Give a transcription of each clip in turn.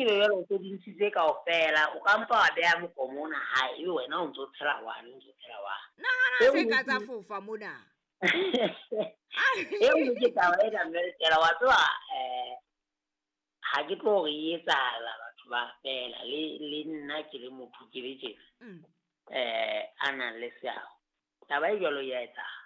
ebe jwale o so di ntshitse kaofela, o ka mpa wa beha mokomo ona hae, ebe wena o ntso tshela wane, o ntso tshela wane. Nahana E se nngwe ka tsa ke fofa mona. E nngwe ke taba ena mme Letela, wa tseba ha ke tlo re e etsahala batho ba fela, le nna ke le motho ke le tjena, a nang le seabo. Taba e jwalo ya etsahala.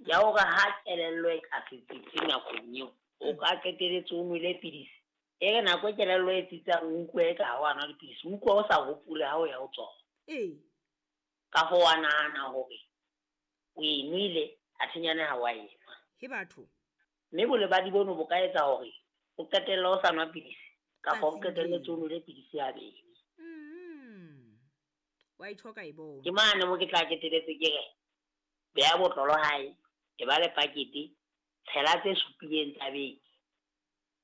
Ya hore ha kelello e ka se tsitse nakong eo, o ka qetelletse o nwele pidisi. E re nako e kelello e tsitsang, o utlwe eka ha wa nwa dipidisi, o utlwe o sa hopole ha o ya ho tsona. Ka hoo wa nahana hore o e nwele, athe nyane ha wa e nwa. He batho. Mme bolebadi bono bo ka etsa hore o qetelle o sa nwa pidisi, kapa o Tsatsing qetelletse o leo. nwele pidisi habedi. Wa e tjho ka e bona. Ke mane mo ke tla qetelletse ke re, beha botlolo hae, e ba le pakete, tshela tse supileng tsa beke.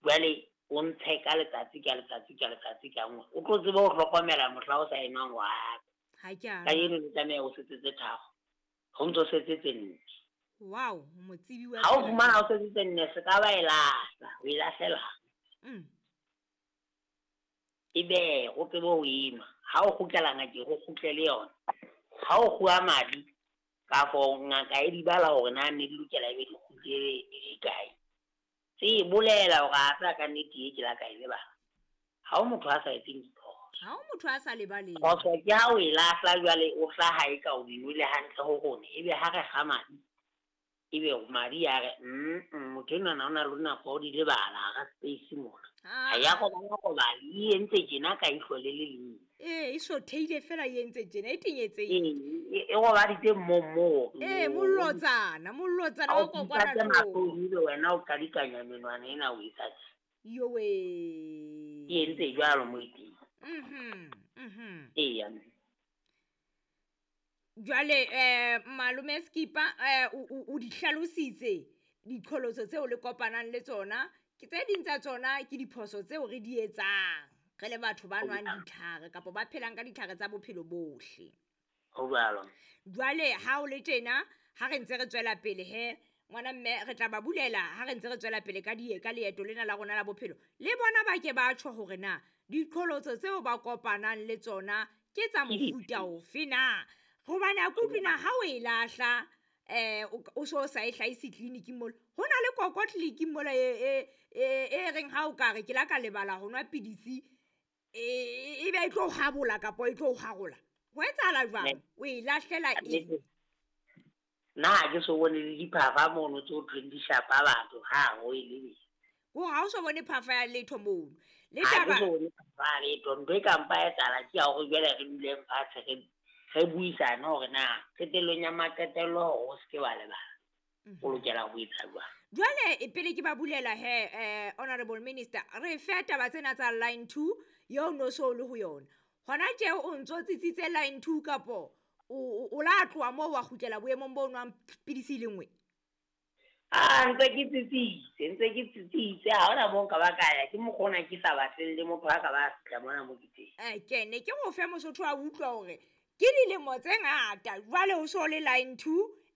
Jwale o ntshe ka letsatsi ka letsatsi ka letsatsi ka nngwe. O tlo tsebe ho hlokomela mohla o sa e nwang wa. Ha ke a Ka eno le tlameha o setse tse tharo. Ho ntso setse tse nne. Wow, motsibi wa Ha o tsela. fumana o setse tse nne, se ka ba e lahla, o e lahlela. E be o tsebe ho e nwa. Ha o kgutlela ngakeng, o kgutlele yona. Ha o kguwa madi, kafo ngaka e di bala hore na ne di lokela ebe di kgutlele di le kae. Tse bolela hore a tla ka nnete e ke la ka e lebala. Ha o motho a sa etseng diphoso. Ha o motho a sa lebaleng. Phoso ke ha o e lahla jwale o hlaha e ka o di nwele hantle ho rona. Ebe ha re kga madi, ebe madi a re, motho enwa na o na le nako ya ho di lebala hara space mona. Ha ya robala robala, e entse tjena ka ihlo le le leng. Ee, e sothehile fela e entse tjena, e tenyetsehile. Ee, e robaditse moo. Ee, mollotsana, mollotsana Ha wa o fihla kokwanahloko. ke mahlong, ebe wena o qadikanya menwana ena o etsa tje. Yowe. E entse jwalo moo e teng. Eya. Jwale malome Skipa, o di hlalositse diqholotso tseo le kopanang le tsona. Ke tse ding tsa tsona ke diphoso tseo re di etsang re le batho ba nwang ditlhare kapa ba phelang ka ditlhare tsa bophelo bohle. Ho jwalo. Jwale ha o le tjena, ha re ntse re tswela pele he, ngwana mme re tla ba bulela ha re ntse re tswela pele ka di ka leeto lena la rona la bophelo. Le bona ba ke ba tjho hore na diqholotso tseo ba kopanang le tsona ke tsa mofuta ofe na. Hobane a ke utlwe na ha o e lahla, o so sa e hlahise tleliniking mola. Ho na le koko tleliniking mola e reng ha o ka re ke la ka lebala ho nwa pidisi, e be e tlo habola kapa e tlo harola. Ho etsahala jwang? O e lahlela eng? Nna ha ke so bone le diphafa mono tse ho thweng di shapa batho, ha ho e le. Ko ha o so bone phafa ya letho mono. Le Ha ke taba so bone phafa ya letho. Ntho e ka mpa etsahala ke ya hore jwale re duleng fatshe re buisane hore na qetellong ya maqetello hore o se ke wa lebala. O lokela ho etsa jwang? Jwale pele ke ba bulela he, Honorable Minister, re fe taba tsena tsa line 2 eo no so le ho yona. Hona tje o ntso tsitsitse line 2 kapo o la tloha moo wa kgutlela boemong bo nwang pidisi e le nngwe? Ah, ntse ke tsitsitse, ntse ke tsitsitse. Ha hona moo nka ba ka ya, ke mokgwa ona ke sa batleng le motho a ka ba fihla mona mo ke teng. Ke ne ke go fe Mosotho a utlwa hore ke dilemo tse ngata jwale o so le line 2,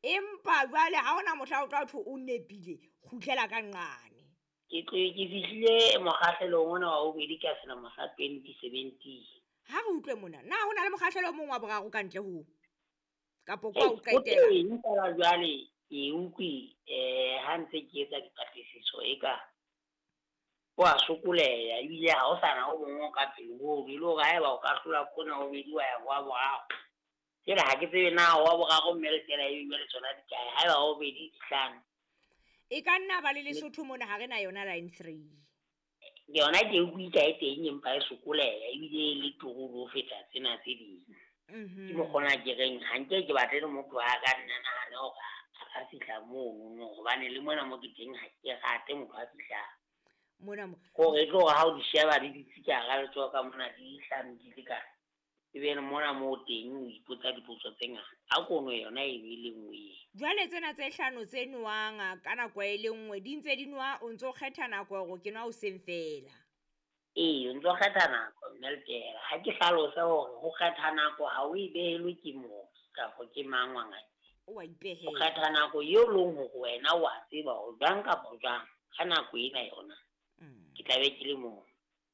empa jwale ha hona mohla o tla thwe o nepile, kgutlela ka nqane. Ke tlohe ke fihlile mokgahlelong ona wa bobedi ka selemo sa 2017. Ha re utlwe mona, na ho na le mokgahlelo o mong wa boraro ka ntle ho? Kapo kwa o Ee, o qetela? teng fela jwale ke utlwe, ha ntse ke etsa dipatlisiso e ka o a sokoleha, ebile ha o sana o mong o ka pele ho ono, e le hore haeba o ka hlola kona o bedi wa ya ho wa boraro. Jwale ha ke tsebe na wa boraro mme le tsela e jwale tsona di kae, haeba wa bobedi di hlano. E ka nna ba le Lesotho mona ha re na yona line 3. Yona ke utlwe ka e teng empa e sokoleha, ebile e le turu ho feta tsena tse ding. Ke mokgwa ona ke reng ha nke ke batle le motho a ka nna nahane hore a ka fihla mono, hobane le mona mo ke teng ha ke rate motho a fihlang. Mona mo. Hore e tlo hore ha o di sheba di dutse ka hara letsoho ka mona di hlano di le kae. Ebe le mona moo teng o ipotsa dipotso tse ngata. Ha kono yona e be le nngwe eo. Jwale tsena tse hlano tse nowang ka nako e le nngwe, di ntse di nowa, o ntso kgetha nako hore ke nwa hoseng fela. Ee, o ntso kgetha nako, mme Letela. Ha ke hlalose hore ho kgetha nako ha o e behelwe ke mooki kapa ke mang wa ngaka. O wa ipehela. O kgetha nako eo leng hore wena o a tseba hore jwang kapa jwang ka nako ena yona. Ke tla be ke le moo.